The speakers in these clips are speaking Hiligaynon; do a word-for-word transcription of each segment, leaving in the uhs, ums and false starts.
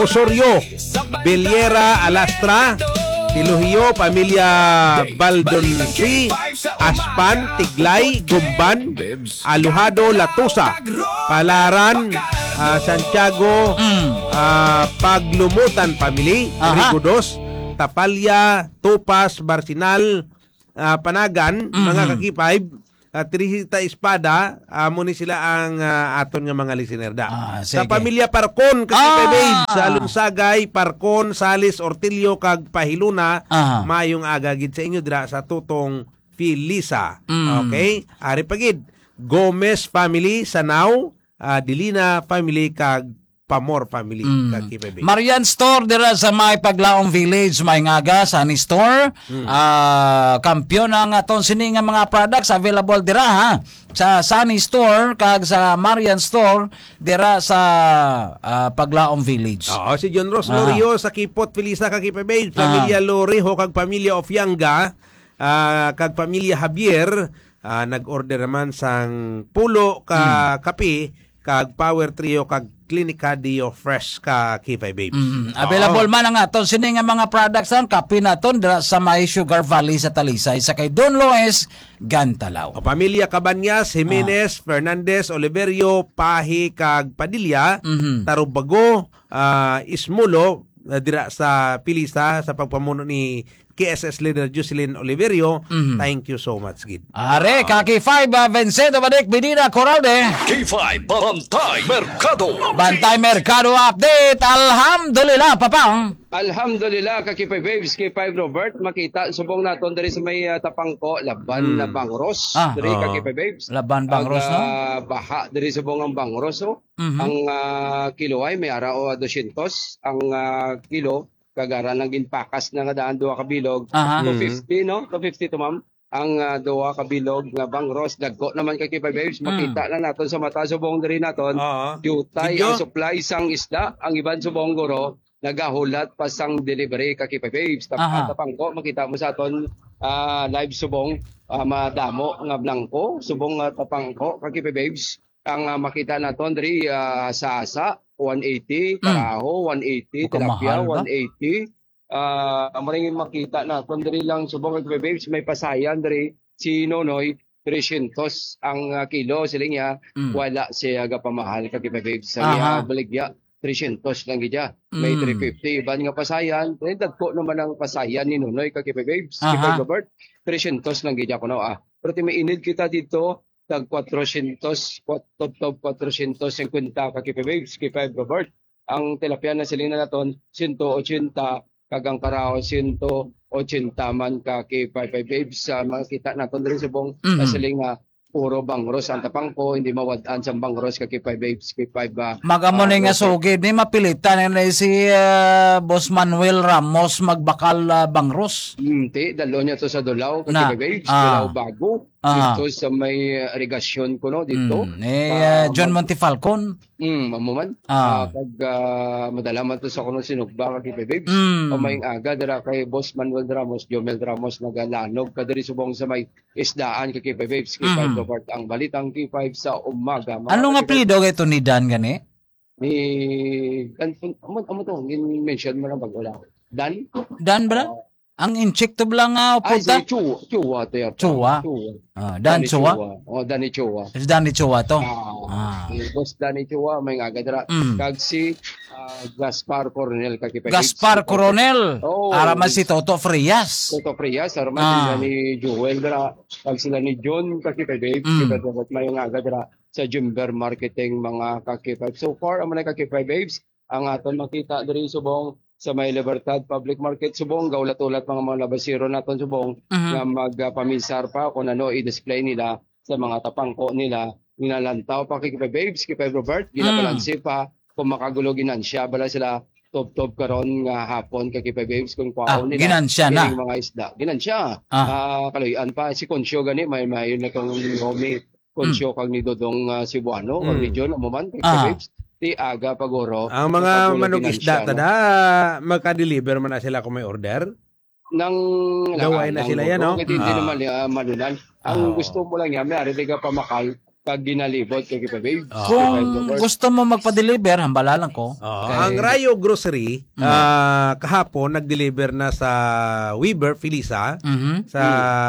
Osorio, Beliera, Alastra, Tilogio, pamilya Baldonsi, Aspan, Tiglay, Gumban, Alojado, Latusa, Palaran, ah, Santiago, Mm. ah, Paglumutan family, Aha. Rigodos, Tapalya, Tupas, Barsinal, ah, Panagan, mga Mhm. ka-K five, ah, Teresita Espada, amo ni sila ang, ah, aton nga mga listener da. Ah, Sa sige. pamilya Parcon, ka-K five Ah! Babes, sa Lunsagay, Parcon, Salis, Ortillo, kag Pahiluna, Aha. mayong aga gid sa inyo dira sa Tutong Felisa. Mm. Okay? Ari pa gid, Gomez family, Sanao, ah, Dilina family, kag Pamor family, Mm. ka-K five Babes. Marian Store dira sa may Paglaong Village, may ngaga, Sunny Store. Mm. Ah, kampiyon ang aton sini nga mga products available dira, ha. Sa Sunny Store kag sa Marian Store dira sa, ah, Paglaong Village. Oo, si John Ross Ah. Lorio sa Kipot, Felisa, ka-K five Babes, Ah. pamilya Loreho kag pamilya Ofianga, ah, kag pamilya Javier, ah, nag-order naman sang pulo ka Hmm. kape kag Power Trio kag Clinica Dio Fresh, ka-K five Babes. Mm, Oo. available man ang aton sini nga mga products, ang kape naton dira sa may Sugar Valley sa Talisay, sa kay Don Lois Gantalaw. O pamilya Cabañas, Jimenez, Ah. Fernandez, Oliverio, Pahi, kag Padilla, Mhm. Tarubago, ah, Ismulo, ah, dira sa Felisa, sa pagpamuno ni K S S leader Jocelyn Oliverio. Mhm. Thank you so much, gid. Are, Ah. ka-K five, ah, Vincento Badik, Benina Coralde. K five Bantay Merkado. Bantay Merkado update. Alhamdulillah, Papang. Alhamdulillah, ka-K five Babes, K five Robert, makita subong naton diri sa may, ah, Tapangco, laban Hmm. na bangros. Ah. Diri, Oo. ka-K five Babes. Laban bangros, Ag, no? ah, baha diri subong ang bangros, oh. Mhm. Ang, ah, kilo ay may ara o dosyentos ang, ah, kilo, kag ara lang ginpakas na nga daan, duha ka bilog. Aha. Mhm. Two fifty, no? Two fifty to, ma'am. Ang, ah, duha ka bilog nga bangros, dagko naman, ka-K five Babes. Mm. Makita na naton sa mata subong diri naton. Oo. Diutay Video? ang supply sang isda, ang iban subong guro nagahulat pa sang delivery, ka-K five Babes. Tap-, Aha. Tapangco, makita mo sa aton, ah, live subong, ah, madamo nga blangko, subong, ah, Tapangco, ka-K five Babes. Ang, ah, makita naton diri, ah, sasa, one eighty, Mm. karaho, one eighty, Baka tilapia, mahal ba? one eighty. Ah, amo rin yung makita naton diri lang subong, ka-K five Babes, may pasayan diri si Nonoy, tresyentos ang, ah, kilo, siling niya, Mm. wala siya gapamahal, ka-K five Babes. Sa Aha. iya baligya, tresyentos lang gid siya. May Mm. three fifty, iban nga pasayan, pero dagko naman ang pasayan ni Nonoy, ka-K five Babes, Aha. K five Robert, tresyentos lang gid siya kuno, ah. Pero ti may inid kita dito, tag kwatrosyentos, kwat-, tubtob kwatrosyentos singkwenta, ka-K five Babes, K five Robert. Ang tilapia na siling na naton, sento ochenta, kag ang karaho, sento ochenta man, ka-K five Babes. Sa makita naton diri subong, Mhm. na siling nga puro bangros ang Tapangco, hindi mawad-an sang bangros, ka-K five Babes, K five, ah, Mag-amo ah, ni nga Robert. sugid ni, mapilitan na ni si, ah, Boss Manuel Ramos magbakal, ah, bangros. Hmm, ti, dalo niya to sa Dulao, Na. ka-K five Babes, Ah. Dulao Bago. Ah. Dito sa may, ah, irigasyon ko, no, dito. Mm. Eh, Ah, ah, John mag- Montefalcon. Mm, amo man. Ah. Ah, pag, ah, madala man to sa kuno sinugba, ka-K five Babes. Mm. O may aga dira kay Boss Manuel Ramos, Jomel Ramos, nagalanog ka diri subong sa may isdaan, ka-K five Babes, K five Mhm. Robert, ang balitang K five sa umaga, mga Ano nga ka-K five. apelyido kay to ni Dan gani? Ni, kan-, amo, amo to, gin-mention mo lang pag wala. Dan? Dan, bra? Ah. Ang inchik to bala nga Ay, upod si ta? Chua, Chua to yata. Chua? Chua. Ah, Dan Danny Chua? Chua. Oh, Danny Chua. Si Danny Chua to? Ah, Ah. si Boss Danny Chua, may nga gadra. Mm. Kag si, ah, Gaspar Coronel, ka-K five Babes. Gaspar Coronel. Oo. Ara man si Toto Frias. Toto Frias, ara man Ah. sila ni Joel dra. Kag sila ni John, ka-K five Babes. Mm. Kita dapat may nga gadra sa Jimber Marketing, mga ka-K five. So far, amo na, ka-K five Babes, ang aton makita diri subong sa may Libertad Public Market subong, gaulat-ulat mga, mga labasero naton subong Mhm. nga magpaminsar pa kung ano i-display nila sa mga tapangko nila. Ginalantaw pa, ka-K five Babes, ka-K five Robert, Mm. ginabalanse pa kung makagulo ginansya bala sila tubtob karon nga hapon, ka-K five Babes, kung Ah, kwaon nila ginansya na. kining mga isda. Ginansya. Ah. Ah, kaluy-an pa si Concio gani, may, may na tong Naomi Concio Mm. kag ni Dodong, ah, Cebuano, kag Mm. ni John, amo man, kay Ah. Babes, ti aga pa guro, Ang mga nakagulog manug-isda ginansya, no? tada, magka-deliver man na sila kung may order? Nang Gaway na nang sila yan, no? kung hindi, hindi Ah. naman, ah, malunan. Ang Ah. gusto mo lang yan, may ari di ka pamakal, kag ginalibot kag ipababes. Ah. Kung gusto mo magpa-deliver, hambala lang ko. Oo, kay ang Rayo Grocery, Mm. ah, kahapon nag-deliver na sa Weaver Felisa, Mhm. sa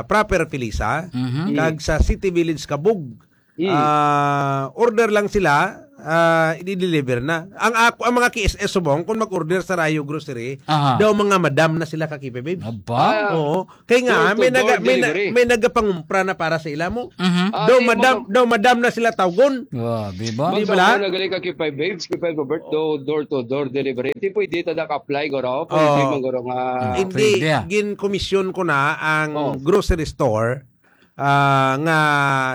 Mm. Proper Felisa, Mhm. kag sa City Village Kabug. Mm. Ah, order lang sila, ah, i-deliver na. Ang ako, ang mga K S S subong, kung mag-order sa Rayo Grocery, Aha. daw mga madam na sila ka K P babes. Aba? Ah, Oo. Kay nga, door to may door naga-, may na-, delivery. may nagapangumpra na para sa ila mo. Mhm. Ah, Daw di madam, mga daw madam na sila tawgon. Grabe ba? Di ba? Magkano na gali ka K P babes, K P Robert, do-, door to door delivery? Di pwede ta ka-apply, guro. Pwede Oo. man, guro, nga Ah, Hindi, pwede, ah. gin-commission ko na ang Oh. grocery store, ah, nga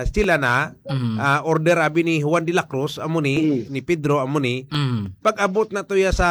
sila na, Mhm. ah, order abi ni Juan de la Cruz, amo ni, Mm. ni Pedro, amo ni. Mm. Pag-abot na to ya sa,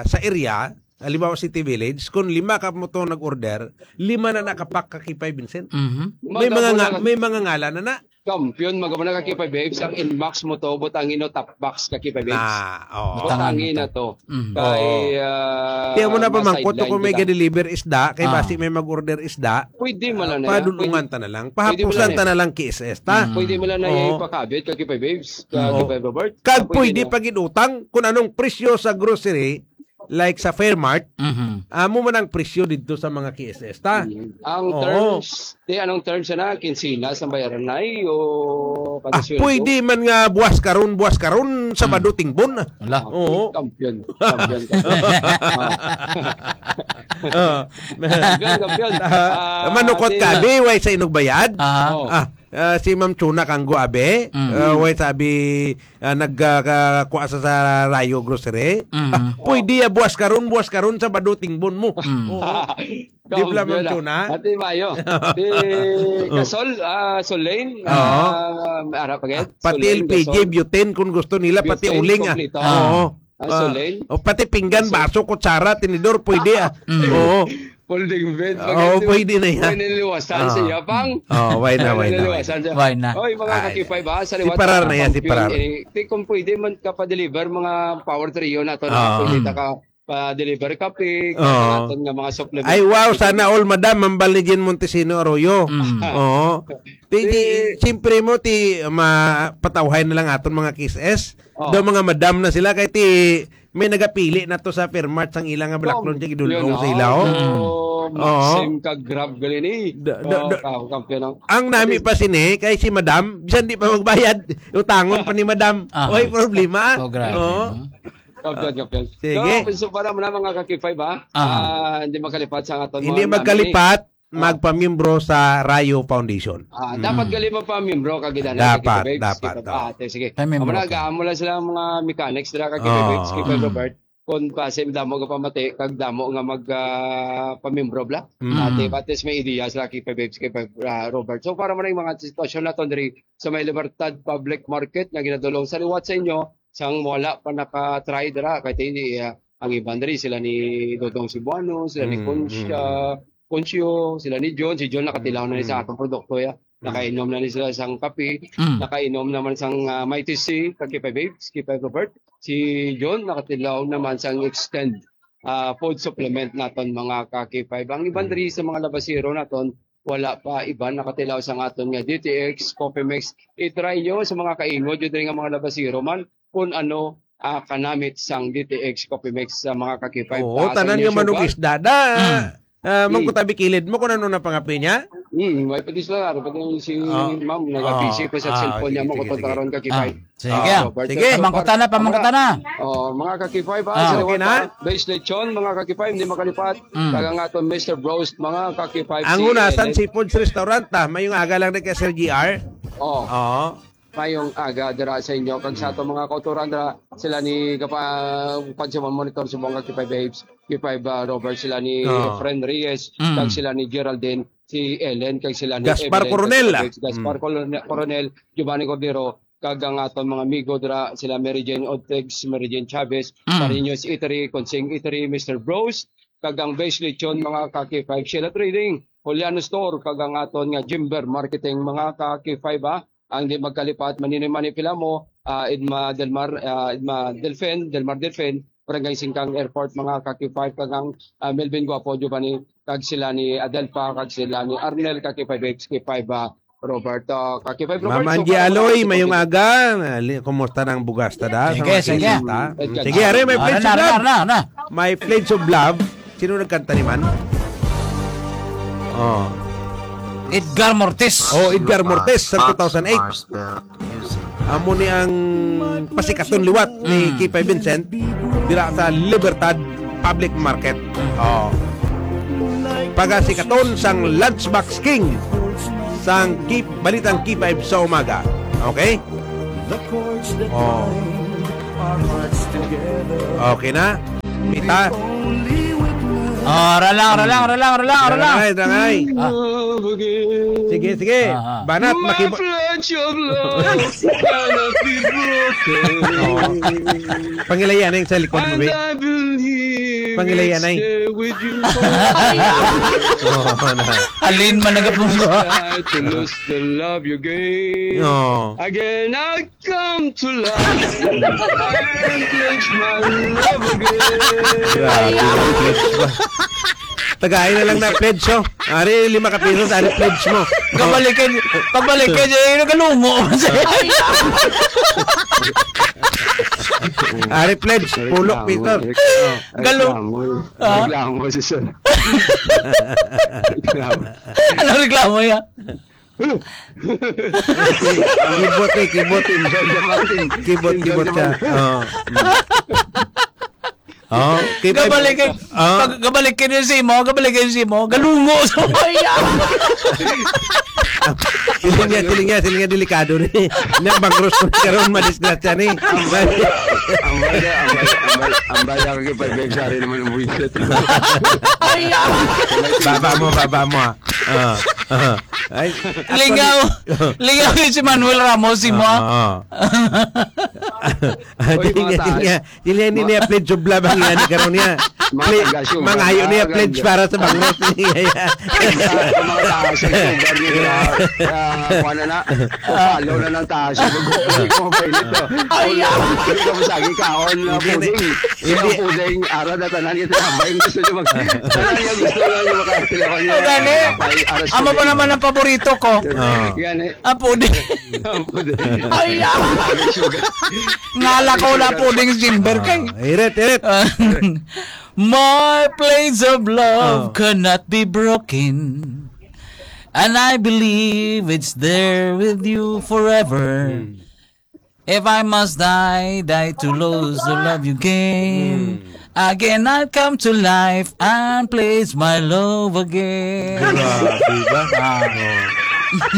sa area, halimbawa City Village, kung lima ka mo to nag-order, lima na nakapak ka K P babes, Vincent. Mhm. May mga Magabo nga, na may mga ngalan na na. Kampiyon, magabo na ka K P babes, ang inbox mo to, butangin no top box ka K P babes. Na, oo. Butangin Butangin na to. to. Mm. Kay, Oo. ah, Tiyan mo na mga pamangkot to sideline kung may kita. ga-deliver isda, kay Ah. basi may mag-order isda. Pwede man lang na yan. Padulungan Pwede, ta na lang. pwede man Pahapusan lang ta yan. na lang K S S ta. Mm. Pwede man lang na Oo. ipakabit ka K P babes, ka Oo. K P Robert. Kag Ah, pwede pwede na. pag-inutang kung anong presyo sa grocery, like sa Fairmart, Mhm. amo man ang presyo didto sa mga K S S ta. Mm. Ang Oo. terms, di, anong terms na? Kinsinas ang bayaran na, o kada Ah, sweldo? pwede man nga buwas karon, buwas karon, Sabado, Mm. tingbon. Ala. Ah, Oo. kampiyon. Kampiyon, kampiyon. Ah. Oo. Kampiyon, kampiyon. Ah, Ah, manukot di ka, na. Abi, way sa inugbayad? Ah. Oh. Ah, ah, si Ma'am Chuna Kanggo, abi, Mm. ah, way sabi, ah, nag, ah, ka-, kuha sa, sa Rayo Grocery. Mm. Ah, pwede, ah, buwas karon, buwas karon, Sabado, tingbon mo. Mm. Oo. Di ba, Ma'am Kampiyon, ah. Chuna? Ate Mayo. Di, Oh. Kasol, ah, Sol Lane, Oo. ah, ara pa gid? Ah, pati Sol Lane, L P G, Gasol. butane, kung gusto nila, pati Butane, uling, ah. kompleto. Oo. Ah, Ah, Sol Lane. O, pati pinggan, Gasol. baso, kutsara, tinidor, pwede, ah. Mm. Oo. Folding bed, Oo, pag-, pwede na yan. Pwede niliwasan sa Ah. Yapang. Oo, why na, why na, why na? Niliwasan siya. Why na? Oy, mga Ay, ka-K five, ah, sa si liwat Parar na na yan, si kampiyon, Parar. eh, di kung pwede man ka pa-deliver mga power trio na to, na Ah. pwede Mm. ta ka pa-deliver kape, Oo. kag aton nga mga supplement. Ay, wow, sana all, madam, ang Baligin Montesino Arroyo. Mm. Oo. Ti, ti, Eh, siyempre mo, ti, ma-, patawhay na lang aton mga K S S. Oh. Daw mga madam na sila, kay ti, may nagapili na to sa Fairmart sang ila nga balaklon, Dom, ti gidulong yun, sa oh. ila, oh. Mm. Oo. Maxim ka Grab gali ni. Da, da, Oh, da. ka-, kampiyon ang Ang nami pa sini, kay si madam, bisan di pa magbayad, utangon pa ni madam. Ah. Oy, problema, ah. Oh, grabe, Oo. no? Kampiyon, kampiyon. Sige. So, so, para mo na, mga ka-K five, ha? Aha. Ah, hindi makalipat sa aton Hindi mga magkalipat, nami. Ah. magpamiyembro sa Rayo Foundation. Ah, dapat Mm. gali mo pa miyembro, kag gid ana, Dapat, kag babes, dapat, kag oo. ate, sige. Ay, miyembro Amo na, ka. Gaamo lang sila ang mga mechanics dira, kag Oo. babes, kag Mm. Robert. Kung pa, sa damo nga pamati, kag damo nga mag, ah, pamiyembro bla. Mm. Ate, batis may ideya sila kag babes, kag, ah, Robert. So, para man ang mga sitwasyon naton diri sa may Libertad Public Market nga ginadulong sa liwat sa inyo, sang wala pa naka-try dira, kay hindi, ah, ang iban diri, sila ni Dodong Cebuano, sila ni Mm, Conch-, mm, mm. ah, Concio, sila ni John. Si John nakatilaw na ni sa Mm. atong produkto, ya. Mm. Nakainom na ni sila sang kape, Mm. nakainom naman sang, ah, Mighty C, kag K five Babes, K five Robert. Si John nakatilaw naman sang Extend, ah, food supplement naton, mga ka-K five. Ang iban Mm. diri sa mga labasero naton, wala pa iban nakatilaw sang aton nga D T X Coffee Mix. I-try nyo sa mga kaingod, yun diri nga mga labasero man, kung ano, ah, kanamit sang D T X Coffee Mix sa mga ka-K five. Oo, Basa tanan niyo nga siya, manug ba? Isda da. Mm. Ah, Mm. mangkutabi kilid mo kung ano na pangapi niya? Mm, may pati sila, ano, pati si Oh. ma'am, nag-busy Oh. pa sa Ah, cellphone niya, sige, mo sige, kung sige. karon ka-K five. Ah, sige. Ah, Robert, Sige, Robert. pamangkutan na, pamangkutan na. Oh, mga ka-K five, ah, Ah. sa Okay liwat na? na. Base lechon, mga ka-K five, hindi makalipat. Mm. Kag ang aton Mister Bros, mga ka-K five, Ang si Hunasan Ellen. Seafoods Restaurant, ah. Mayong aga lang ni kay Sir G R. Oh. Oo. Mayong aga dira sa inyo. Kag sa Mm. ato mga kautoran dira, sila ni Kapa-, Pagsaman Monitor, subong ka K five Babes, K five, ah, Robert, sila ni Oo. Efren Reyes, Mm. kag sila ni Geraldine, si Ellen, kag sila ni Gaspar Evelyn, Coronel. kag Gaspar Mm. Colon-, Coronel, Giovanni Cordero, kag ang aton mga amigo dira, sila Mary Jane Ortegs, Mary Jane Chavez, Mm. Marinos Eatery, Consing Eatery, Mister Bros, kag ang Best Lechon, mga ka-K five, Sheila Trading, Juliano Store, kag ang aton nga Jimber Marketing, mga ka-K five, ha. Ang di magkalipat, manini-, manipila mo, ah, Edma Delmar, ah, Edma Delfin, Delmar Delfin, Barangay Singkang Airport, mga ka-K five, kag ang, ah, Melvin Guapo, Giovanni, kag sila ni Adelpa, kag sila ni Arnel, ka-K five X, K five, ah, Roberto, Kaki Five Ma'am Roberto, Angie Kaki Aloy, Five mayong Roberto. Aga. Ali, kumusta nang bugas ta da? Sige, Sa mga sige. Kista? Mm, sige, are, may Ano pledge na, of ano na, love. ano na, ano na? May pledge of love. Sino nagkanta ni man? Oh. Edgar Mortis. Oh, Edgar Mortis sa two thousand eight. Amo ni ang pasikaton liwat ni Mm. Kipay Vincent dira sa Libertad Public Market. Oh. Pagasikaton sang Lunchbox King sang Kip, Balitang K five sa umaga. Okay? Oh. Okay na? Pita? Ah, ralang, ralang, ralang, ralang, ralang. Dangay, dangay. Ah. Sige, sige. Ah, ah. Banat, My makibo- pledge of love cannot be broken. Oh. Pangilayan ang sa likod mo, And be. I believe Pangilayan it's ay. There with you. Oh, na. Alin man nagapungko? Try to lose the love you gave. Oh. Again, I come to life. I pledge my love again. Grabe, pledge ba? Tagay na lang na pledge, oh. Ari, lima ka pesos, ari pledge mo. Kabalikin, pagbalikin niya, yung galungo. Ari pledge, pulok, Peter. Oh. Galo. Reklamo. Ah? Reklamo si sir. Reklamo. Ano reklamo niya? Kibot eh, kibot. Kibot, kibot ka. Oh. Oh, kay Gabalik kay, oh. Pag gabalik kay si mo, gabalik kay si mo, galungo sa maya. Siling niya, siling niya, siling niya, delikado ni. Nang bangros ko karon, madisgrasya ni. Ambay, ambay, ambay, ambay, ang kipag-beg, sorry naman ang buwisit. Baba mo, baba mo, ah. Ah, ah. Ay, Lingaw. Lingaw yun si Manuel Ramos, si mo. Ah, ah. Ah, Oy, di mga niya, di taas. Niya, di niya, di niya pledge of love ang yan, karon niya. Mga Ple-, taga-sugar, mangayo niya mga pledge taga- para sa bangros niya. Mga taas ang sugar niya, ah, ah, kuha na na. Papalo na ng taas. Hindi ko mapailit, oh. Ay, ah. Hindi ko masagi kaon na Hindi, puding. hindi. Yung puding, ara na tanan yung tinapay. Gusto niyo mag-, tanan yung gusto niyo makakilala niyo. O, gani. Tinapay, ara sa Amo pa puding. Naman ang paborito ko. Ah. Gani. Ang puding. Ang puding. Ay, ah. Ang sugar. Ngala ko na puding Jimber kay. Ah, irit, irit. My place of love Oh. Cannot be broken. And I believe it's there with you forever. Hmm. If I must die, die to lose the love you gave. Hmm. Again, I'll come to life and place my love again. Grabe ba? Ah. Oh.